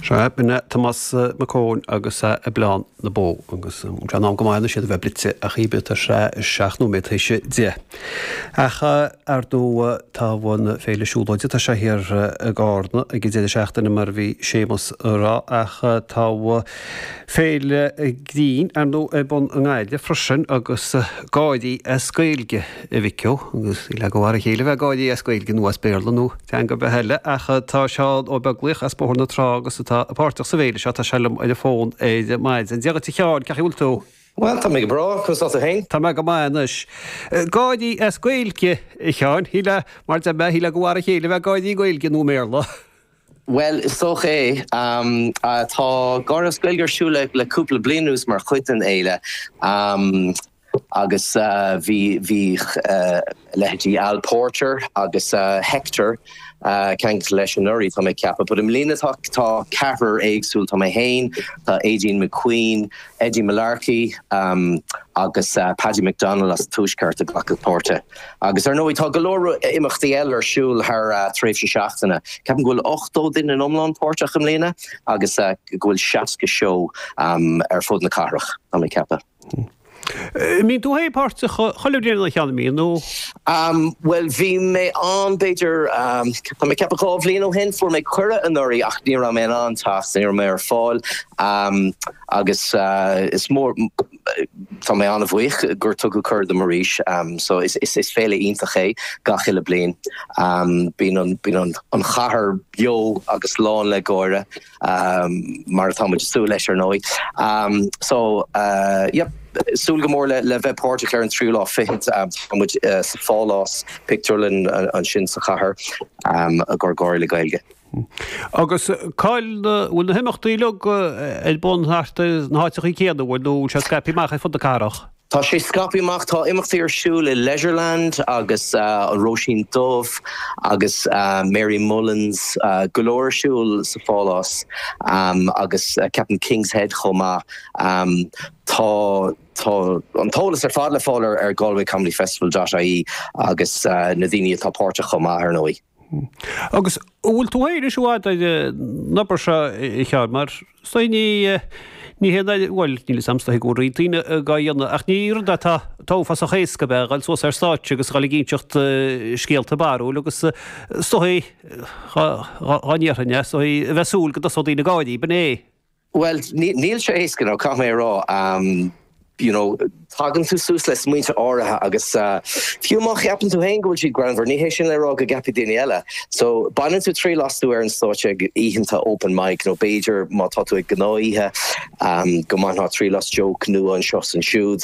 Sea, b'in é Tomás Mac Eoin agus Oileán na Bó agus tá sé in am go maith anois iad a bheith bruite ach híbe tá sé 7 nóiméad tar éis 10. Ach ar ndóigh tá an féile siúlóide tá sé thiar i gCarna ag an deireadh seachtaine mar a bhí Séamus a rá ach tá féile grinn ar ndóigh ar bun i nGaillimh freisin agus gáirí as Gaeilge a mhic ó agus ní le go mhar a chéile bheith gáirí as Gaeilge nó as Béarla nó teanga ar bith eile ach tá Seán Ó Beaglaoich as Bóthar na Trá agus atá páirteach sa bhféile seo, tá sé liom ar an bhfón ar maidin. Dia dhuit a Sheáin, cén chaoi a bhfuil tú? Bhuel, tá mé go breá, conas tá tú féin? Tá mé go maith anois. Gáirí as Gaeilge, a Sheáin, shílfeá, mar deir mé, shílfeá gur mhar a chéile a bheith gáirí i nGaeilge nó i mBéarla. Bhuel, is dócha é. Tá Gáire as Gaeilge ar siúl le cúpla bliain anuas mar chuid den fhéile. Agus bhí, bhí leithéidí Al Porter agus Hector ceangailte leis anuraidh, tá mé ag ceapadh. But i mbliana tá, tá ceathrar éagsúil, tá mé féin, tá Aideen McQueen, Eddie Mullarkey agus Paddy McDonnell as an Tuaisceart ag glacadh páirte. Agus ar ndóigh tá go leor imeachtaí eile ar siúl thar tréimhse seachtaine. Ceapaim go bhfuil 80 duine in iomlán páirteach i mbliana agus go bhfuil 60 seó ar fud na cathrach, tá mé ag ceapadh. An mbíonn tú féin páirteach chuile bhliain a Sheáin, an mbíonn nó? Bhuel, bhí mé ann b'fhéidir, tá mé ag ceapadh 2 bhliain ó shin. Fuair mé cuireadh anuraidh ach ní raibh mé in ann teacht, ní raibh mé ar fáil agus is mór, tá mé an-bhuíoch gur tugadh cuireadh dom arís. So is féile iontach é gach uile bliain. Bíonn an, bíonn an chathair beo agus lán le gáire. mar atá muid ag súil leis ar ndóigh. So yep, súil go mór le bheith páirteach ar an tríú lá fichead. Tá muid sa Phálás pictiúrlann ansin sa chathair ag cur gáirí le Gaeilge. Agus cá'il na, bhfuil na himeachtaí uilig ar bun thart ar na háiteachaí céanna, bhfuil, nó bhfuil sé scaipthe amach ar fud na cathrach? Tá sé scaipthe amach, tá imeachtaí ar siúl i Leisureland agus an Róisín Dubh agus Mary Mullins, go leor ar siúl sa Phálás agus ceapaim King's Head chomh maith. Tá tá an t-eolas ar fad le fáil ar galwaycomedyfestival dot ie agus na daoine atá páirteach chomh maith ar ndóigh. Agus an bhfuil tú féin anois i bhfad ar an obair seo, a Sheáin, mar is dóigh ní, ní hé an, bhuel, níl 'fhios a'm, is dóigh go bhfuil roinnt daoine dhá dhéanamh, ach ní rud atá, atá uafásach éasca ab ea, a dhul suas ar stáitse agus a dhul ag inseacht scéalta barrúil agus is dóigh, dhá, dhá ndéarfainn é, is dóigh a bheith ag súil go dtosódh daoine ag gáirí, b'in é. Bhuel, níl sé éasca, no, caithfidh mé a rá. You know, tagann tú suas le smaointe áirithe agus fiú má cheapann tú féin go bhfuil siad greannmhar, ní hé sin le rá go gceapfaidh daoine eile. So, baineann tú triail astu ar an stáitse ag oícheanta open mic nó b'fhéidir má tá tú ag gnáthoíche go mbainfeá triail as joke nua anseo is ansiúd.